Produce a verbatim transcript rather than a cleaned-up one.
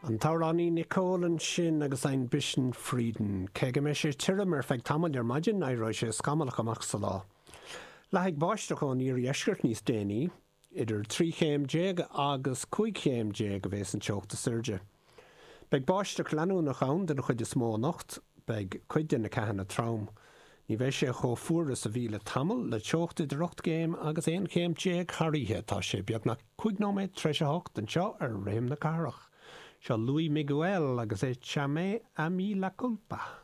An t-amhránaí Nicole ansin agus Ein bisschen Frieden. Cé go mbeidh sé tirim ar feadh tamaill ar maidin éireoidh sé scamallach amach sa lá. Leathfaidh báisteach ón iardheisceart níos déanaí, idir trí chéim déag agus cúig chéim déag a bheas an teocht is airde. Beidh báisteach leanúnach ann den chuid is mó anocht, beidh cuid de na ceathanna trom. Ní bheidh sé chomh fuar is a bhí le tamall le teocht idir ocht gcéim agus aon chéim déag thar oíche tá sé beagnach cúig nóiméad tar éis a hocht anseo ar Rithim na Cathrach. Seo Luis Miguel agus Échame a mí la culpa.